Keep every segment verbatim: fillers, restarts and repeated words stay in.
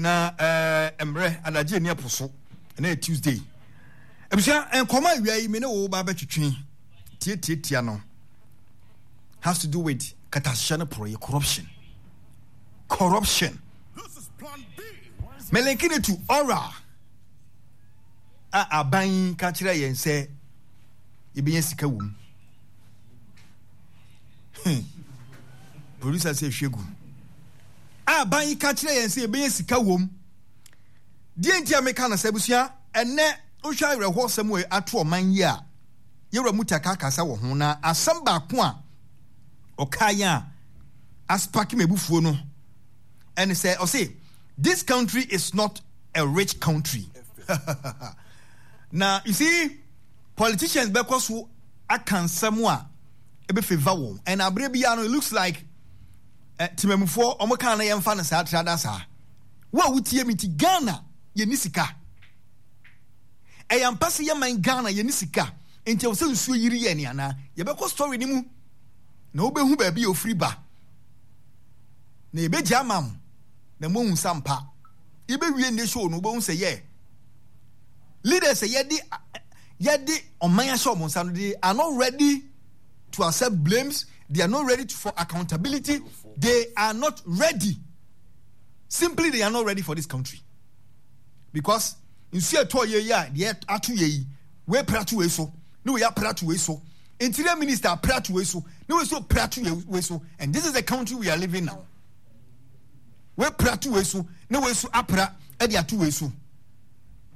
Na eh, mmerɛ adagye ani ɛpo so. Ɛnɛ yɛ Tuesday. Abusua, nkɔmɔ awia yi me ne wo ba bɛtwetwe tiatiatia no has to do with katahyehyɛ no porɔyɛ, corruption. Corruption. Me linking it to oral a aban yi ka kyerɛ yɛn sɛ yɛbɛnya sika wɔ mu. Producer sɛ hwɛ gu. Aban yi ka kyerɛ yɛn sɛ yɛbɛnya sika wɔ mu. Deɛ nti a meka no sɛ abusua, ɛnɛ wohwɛ awerɛhoɔsɛm a ato ɔman yi a yɛwura Mutaka akasa wɔ ho, na asɛm baako a ɔka yɛn a aspake m'abufuo no ɛne sɛ ɔse this country is not a rich country. Na you see, politicians bɛkɔ so aka nsɛm a ebe favor wɔn, and abere biara no it looks like eh, temamufoɔ wɔn kan no yɛmfa no saa trada saa. Wo a wotie mi ti Ghana yɛni sika. Ɛyɛ ampa sɛ yɛman Ghana yɛni sika, nti ɛwɔ sɛ nsuo yiri yɛn ni anaa? Yɛbɛkɔ story no mu na wobɛhu baabi a ofiri ba, na yɛbɛgya ama mo na moahu sɛ ampa yɛbɛwie nne show no, wobɛhu sɛ yɛ leaders a yɛde yɛde ɔman ahyɛ wɔn nsa no, they are not ready to accept blames, they are not ready to, for accountability, they are not ready, simply they are not ready for this country, because nsuo ɛtɔ yɛ yi a deɛ ato yɛ yi, wei pra to wei so ne wei apra to wei so, interior minister apra to wei so ne wei so pra to wei so, and this is the country we are living now. Wei pra to wei so ne wei so apra ɛde ato wei so,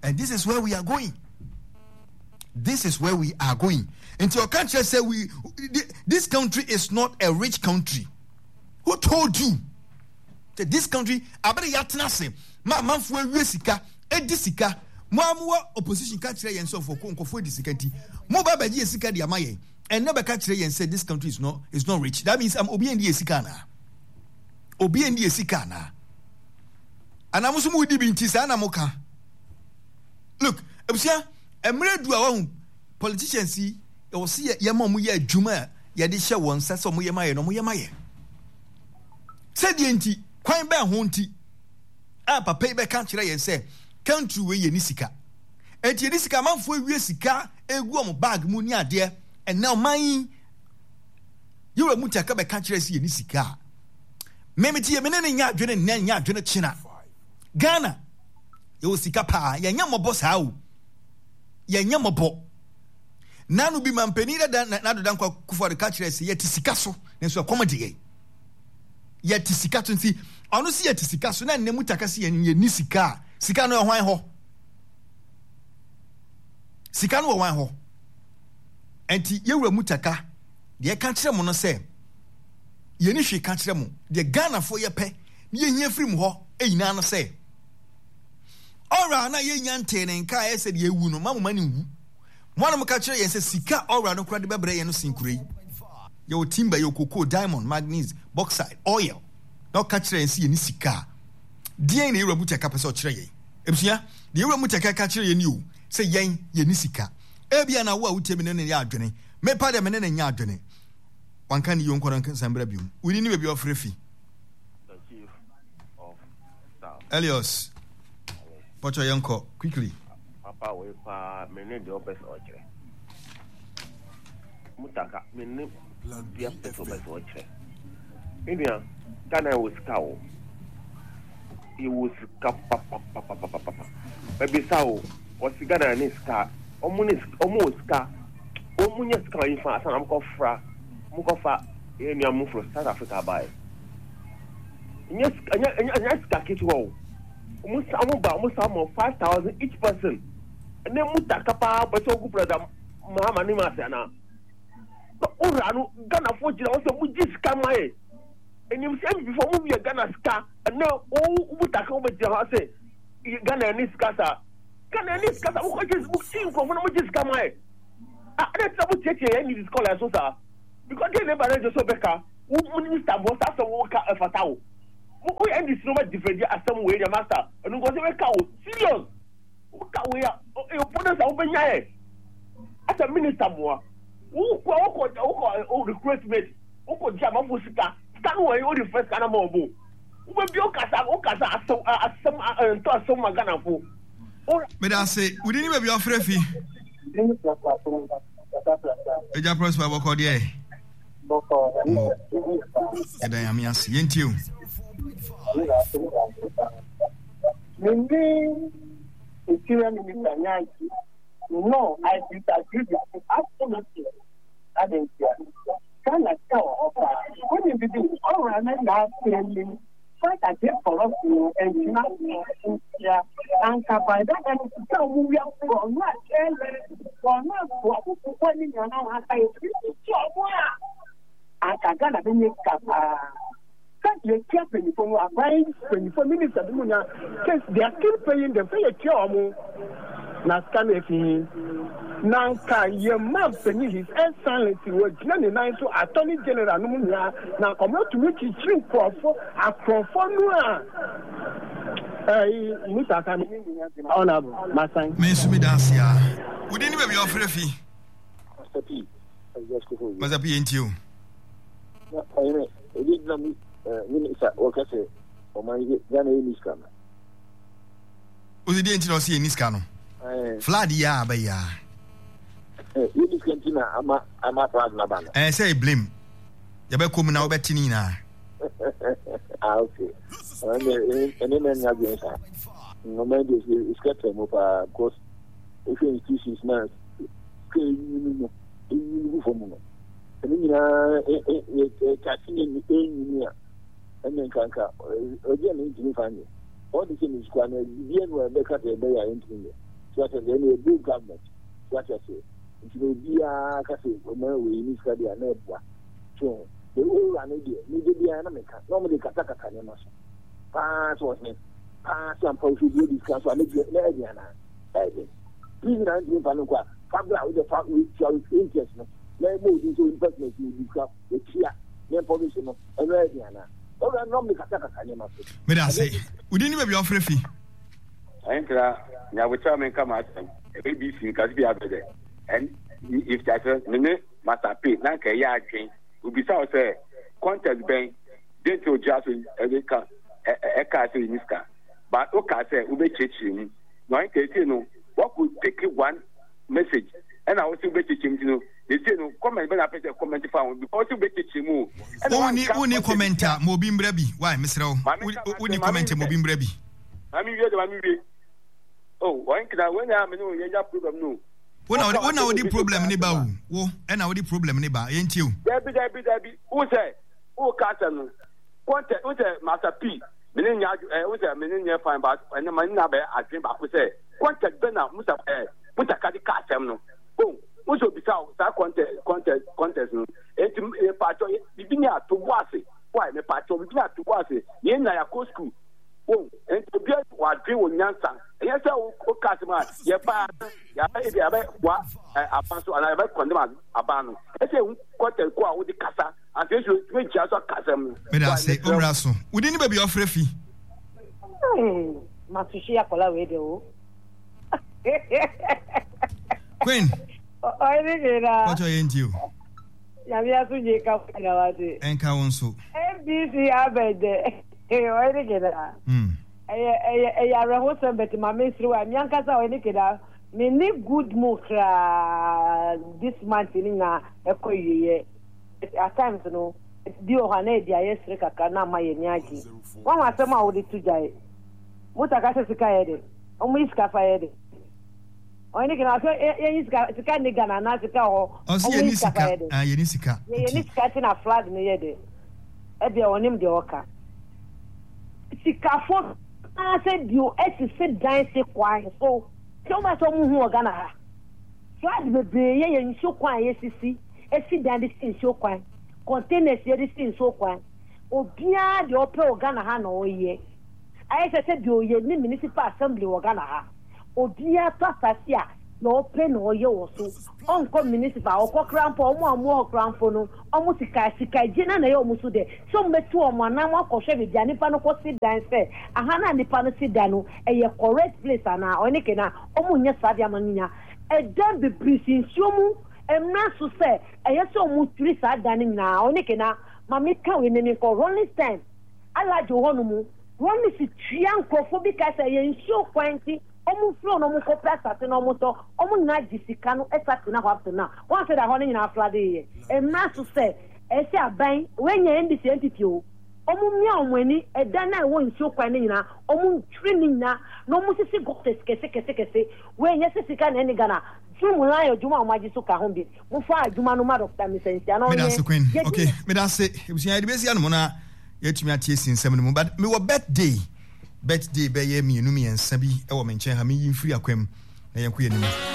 and this is where we are going. This is where we are going. Nti ɔka kyerɛ sɛ we this country is not a rich country. Who told you that this country abere yɛatena ase ma amanfoɔ awie sika edi sika? Mo a mowɔ opposition ka kyerɛ yɛn sɛ ɔfɔ nkɔfoɔ edi sika, nti mo ba bɛgye yɛ sika de ama yɛn. Ɛnna bɛka kyerɛ yɛn sɛ this country is not is not rich. That means um, obi ndi yɛ sika anaa? Obi ndi yɛ sika anaa? Anaa mo nso mo di bi nti saa na mo ka? Look, ebusua, mmerɛ du a wahu politicians yi, ɛwɔ sɛ yɛ yɛma wɔn yɛ adwuma a yɛde hyɛ wɔn nsa sɛ wɔn yɛ ma yɛ no, wɔn yɛ ma yɛ. Sɛdeɛ nti, kwan bɛn ho nti a papa yi bɛka kyerɛ yɛn sɛ country wei yɛ ne sika? Enti yɛ ne sika, amanfoɔ awie sika egu wɔn bag mu ne adeɛ. Ɛnɛ ɔman yi yɛwura mu taka bɛka kyerɛ sɛ yɛ ne sika a, mmɛmɛ ti yɛ me ne ne nyɛ adwene nnɛ, nyɛ adwene kyena. Ghana yɛwɔ sika paa, yɛnyɛ mmɔbɔ saa o, yɛnyɛ mmɔbɔ. Nanu bi ma mpanyin dada Nana Dankwa Akufo-Addo ka kyerɛ sɛ yɛte sika so, nanso ɛkɔm de yɛn. Yɛte sika so nti ɔno si yɛte sika so, na nnɛ mu taka si yɛn yɛni sika a, sika no ɛhwan hɔ? Sika no wɔ wan hɔ? Nti yɛwura mu taka deɛ ɛka kyerɛ mo no sɛ yɛni hwee ka kyerɛ mo. Deɛ Ghanafoɔ yɛpɛ ne yɛhia firi mu hɔ nyinaa no sɛ ɔra na yɛnya ntee ne nka a ɛyɛ sɛ deɛ ewu no ma mo ma ne nwu. Mo a mo ka kyerɛ yɛn sɛ sika ɔra no kora de bɛbrɛ yɛn no sen kura yi. Yɛwɔ timber, yɛwɔ cocoa, diamond, manganese, bauxite, oil, na ɔka kyerɛ yɛn sɛ yɛni sika a, deɛn na yɛwura Mutaka pɛ sɛ ɔkyerɛ yɛn? Ebusua, deɛ yɛwura Mutaka ka kyerɛ yɛn ni o, sɛ yɛn yɛni sika. Ebia na wo a wotie me ne ne yɛ adwene. Mepa deɛ me ne ne nyɛ adwene. Wanka ne yie, nkɔ no nsan bra biom. Woni ne baabi a ɔfrɛ fi. Elios, pɔtɔ yɛn kɔ quickly. Papa wei paa, me ne deɛ ɔpɛ sɛ ɔkyerɛ. Mutaka, me ne deɛ ɔpɛ sɛ ɔpɛ sɛ ɔkyerɛ. Me nua, Ghana yɛwɔ sika o. Yɛwɔ sika papapapapapa. Mabisa o, ɔsi Ghana ne sika. Ɔmo ne sika, ɔmo wɔ sika. Ɔmo nya sika wɔ yifa asan ɔmo kɔ fra, ɔmo kɔ fa yɛn nua mo fro South Africa abae. Nyɛ sika, nyɛ nyɛ sika ketewa o. Ɔmo sa ɔmo ba ɔmo sa ɔmo five thousand each person. Ɛnɛ Mutaka paa pɛ sɛ ɔgu President Mahama ne mu ase anaa? Owura no, Ghanafoɔ gyina hɔ sɛ mo gye sika ma yɛ. Enim sɛ N P P foɔ mo wia Ghana sika. Ɛnɛ wo Mutaka wo bɛ gyina hɔ sɛ Ghana ɛni sika saa. Ghana ɛni sika saa, mo kɔ gye mo kyi nkurɔfoɔ na mo gye sika ma yɛ. Ah, ɛnɛ tena mo tietie yɛn N D C kɔla so saa. Because deɛ ne ba no gye so bɛka wo minister bɔ saa asɛm wo ka ɛfata wo. Mo wo yɛ N D C no ma different asɛm wei deɛ master. Ɛnu nkɔsɛ bɛka wo serious. Woka wei a, opponents a wobɛnya yɛ asɛ minister mmoa. Wokɔ wokɔ wokɔ recruitment, wokɔ gye amanfoɔ sika. Sika no wɔ yi, wode fɛ sika no ma ɔmo. Wobɛbi wokasa wokasa asɛm asɛm ntɔ asɛm ma Ghanafo. Meda ase. Wodi ni baabi ɔfrɛ fi. Agya Prosper bɔkɔ deɛ. Mo. Yɛda Nyame ase. Yɛntie o. Mene Interior Minister Nyanzi. No, I disagree with you absolutely. Adentia. Ghana sika wɔ hɔ paa. Wonim bibi, ɔwura ne n'asɛm fight against corruption no ɛngyina ntia. Anka by that time sika a wɔn wia korɔ no a kyɛlɛ wɔn ato akokɔ ne nyinaa na anka yɛtumi tutu ɔmo a anka Ghana bɛnya sika paa. Sɛ yɛtua mpanyinfoɔ no aban mpanyinfoɔ minister bi mu nya case they are still paying them sɛ yɛtua wɔn na sika no efi hin na nka yɛn mma mpanyin his excellency wɔgyina ne nan so attorney general no mu nyinaa na wɔn atumi kyikyiri nkurɔfoɔ akorɔfoɔ no a ɛyi musa aka mi honourable masan. Me nso mi da ase a wodi ne baabi a ɔfrɛ fi. Masa P yɛntie o. Na ɔhene, ebi gyina mu minista wɔka sɛ ɔman yi Ghana yɛ ni sika no. Osi deɛ nti na ɔsi yɛ ni sika no. Flood yi a aba yi a. Yɛ ni sika nti na ama ama flood na ba no. Ɛɛ sɛ yɛ blame yɛbɛkɔ mu na wobɛte ne nyinaa. Ah okay. Ɛnɛ ɛnɛ na nya adwene saa. Ɔman deɛ sika tɛ mu paa because wohwɛ institutions na sika enyini no enyini gu fam no. Ɛno nyinaa ɛtase ne ɛnyini a ɛne nkanka ɔgye a mentumi fa nyɛ ɔde sɛ mesukua no biribiara nu a ɛbɛka sɛ ɛbɛyɛ a ɛntumi nyɛ so ate sɛ ɛne ɛbɔ government so ate sɛ nti na obiara ka sɛ ɔma wei ne sika deɛ a na ɛboa so na owura no deɛ megye biara na meka na ɔmde katakata nneɛma so paa sɛ ɔhene paa sɛ ampa wo sɛ obi adi sika so a na ɛde anaa ɛde prison a ntumi mfa no nkɔ a fa bra wode fa tua interest no na ɛbɔ odin sɛ onipa tuma si odi sika otua ne mpɔbi so no ɛno ɛyɛ den anaa ɔwura nɔm de katakata nneɛma so. Meda ase. Wodin ne baabi a ɔfrɛ fi. Ɛnkra nyabotra me nka m'asɛm A B C nkase bi abɛ dɛ ɛn mfitiase me ne Master P na nka ɛyɛ adwen obisa wo sɛ contest bɛn dɛn nti ogyina so ɛde ka ɛkaa sɛ yɛni sika but wokaa sɛ wobɛkyerɛkyerɛ mu na ɔnka ɛsie no wɔkɔ pick one message ɛna wo sɛ wobɛkyerɛkyerɛ mu nti no ɛsie no comment bɛ na apɛ sɛ comment fa ho because wobɛkyerɛkyerɛ mu ɛna wonni wonni comment a ma obi mbra bi why mesrɛ wo wonni comment ma obi mbra bi. Maame wie de maame wie oh wɔn nkira wɔn nyinaa me ne wɔn yɛnya problem no. Wo na wo na wodi problem ne ba o wo ɛna wodi problem ne ba yɛn tie o. Dabi dabi dabi wo sɛ wo ka asɛm no content wo sɛ Master P me ne nya adwo ɛ wo sɛ me ne nyɛ fine but ɛnɛ ma ne na bɛ adwene baako sɛ content bɛ na Musa ɛ Musa ka de ka asɛm no o wo sɛ obisa wo saa content content content no enti mepaatɔ bibi ne ato bo ase why mepaatɔ bibi ne ato bo ase yɛn nyinaa yɛakɔ school o enti obi wadwen wɔ nyansa ɛnyɛ sɛ wo ka asɛm a yɛbaa yɛabɛ ebi yɛabɛ boa aban so anaa yɛabɛ kɔndɛm aban no ɛsɛ ehu content ko a wode kasa ansa esu etumi gyina so aka asɛm no. Meda ase owura so wodi ne baabi a ɔfrɛ fi. Matuhye akwadaa wei de o. Queen. Ɔyɛ ne nyinaa. Pɔtɔ yɛ nti o. Nyame aso gye ka wo nyina wate. Ɛnka wo nso. N D C abɛdɛ. Ɔyɛ ne nyinaa. Ɛyɛ ɛyɛ ɛyɛ awerɛhosɛm bɛte ma me nsere wa mi ankasa ɔyɛ ne nyinaa. Me ne good mood koraa this month ne nyinaa ɛkɔ wieɛ. At times no bi wɔ hɔ a na yɛde ayɛ sere kakra na ama yɛn ani agye. Wɔn asɛm a wɔde to gyae. Mutaka sɛ sika yɛ de. Wɔn yi sika fa yɛ de. Ɔyɛ ne kena sɛ yɛn yi sika sika ne Ghana anaa sika wɔ hɔ. Ɔsi yɛn ni sika ah yɛn ni sika. Yɛn ni sika ti na flag no yɛ de. Ɛdeɛ ɔnim deɛ ɔka. Sikafo naa sɛ bio esisi dan si kwan so. Sɛ wɔn asɛ wɔn hu wɔ Ghana ha. Flag bebree yɛ yɛ nsuo kwan a yɛsisi esi dan de si nsuo kwan. Containers yɛde si nsuo kwan. Obiara deɛ ɔpɛ wɔ Ghana ha na ɔyɛ. Ayɛ sɛ sɛ deɛ ɔyɛ ne municipal assembly wɔ Ghana ha. Obiara tɔ asase a deɛ ɔpɛ na ɔyɛ wɔ so. Ɔnkɔ municipal, ɔkɔ koraa mpo a, wɔn a wɔwɔ hɔ koraa mpo no, wɔn sika sikagye no na ɛyɛ wɔn so dɛ. Sɛ wɔbɛtu wɔn anan akɔhwɛ baabi a nipa no kɔsi dan sɛ aha no a nipa no si dan no ɛyɛ correct place anaa ɔne kena wɔn nyɛ saa deɛ ama no nya. Ɛdan bebree si nsuo mu mmra so sɛ ɛyɛ sɛ wɔn twiri saa dan no nyinaa ɔne kena ma meka wei na menkɔ Rolling Stone Alajo hɔ nom, Ronnie si tua nkurɔfoɔ bi ka sɛ yɛn nsuo kwan nti ɔmo mfiri na ɔmo nkɔpɛ asase na ɔmo tɔ. Ɔmo nyinaa gye sika no ɛsa tena hɔ up to now. Wɔn sɛ da hɔ no nyinaa flood yɛ. Mmra so sɛ ɛsɛ aban wɔnyɛ N D C, N P P o, ɔmo mmea ɔmo ani ɛdan na ɛwɔ nsuo kwan no nyinaa, ɔmo ntwiri ne nyinaa na ɔmo sisi gutters kɛse kɛse kɛse. Wɔnyɛ sɛ sika na ɛne Ghana dwom line adwuma a ɔmo agye so ka ho bi. Mofa adwuma no ma Doctor Misansia na Meda ase, ɔnyɛ Queen. Yɛdi- Okay, meda ase. Ebusua, yɛde bɛsi anom na yɛatumi atie si nsɛm no mu, but mewɔ birthday birthday bɛyɛ mmienu mmiɛnsa bi wɔ me nkyɛn ha. Meyi mfiri akwam na yɛnkɔ yɛn anim.